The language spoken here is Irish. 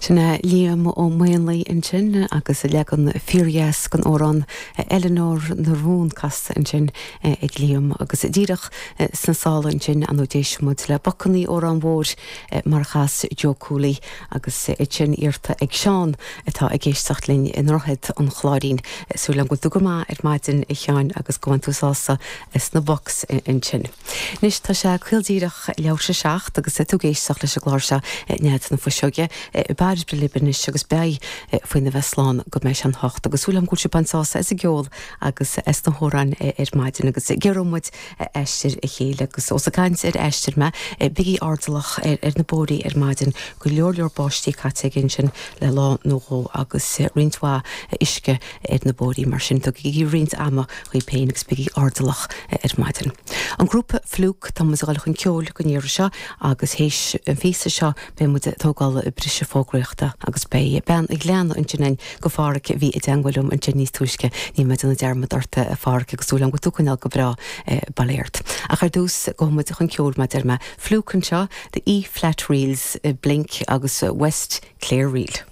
Sin é Liam Ó Maonlaí ansin agus a leagan fíordheas den amhrán Eileanóir na Rún casta ansin ag Liam agus díreach sna sála ansin ar ndóigh d'éist muid le Bacannaí Órán Mhóir mar a chas Joe Cooley agus iad sin iarrta ag Seán atá ag éisteacht linn i nDroichead an Chláirín. Súil agam go bhfuil tú go maith ar maidin a Sheáin agus go bhfaigheann tú sásamh as na Bucks ansin. Anois tá sé caol díreach leathuair tar éis a 7 agus tú ag éisteacht leis an gclár seo Nead na Fuiseoige. Bairbre libh anois agus beidh faoina bheith slán go mbeidh sé an hocht agus súil agam go bhfuil sibh ag baint sásamh as an gceol agus as na hamhráin ar maidin agus giorróidh muid aistear a chéile agus ós ag caint ar aistear mé, bígí airdeallach ar na bóithrí ar maidin, go leor leor báistí caite againn ansin le lá nó dhó agus roinnt mhaith uisce ar na bóithrí mar sin tugaigí roinnt ama dhaoibh féin agus bígí airdeallach ar maidin. An grúpa Fluke, tá muid ag dul chun ceoil don iarraidh seo agus théis an phíosa seo beidh muid ag tógáil briseadh fógraíochta agus beidh bean an Ghleanna ansin againn go Pháraic a bhí i dteangmháil liom ansin níos túisce. Níl mé ag déanamh dearmad ort a Pháraic agus súil agam go bhfuil tú ag coinneáil go breá bail ó Dhia ort. Ach ar dtús gabhfaidh muid chun ceoil mar a deir mé. Fluke anseo, The E Flat Reels, Blink agus West Clare Reel.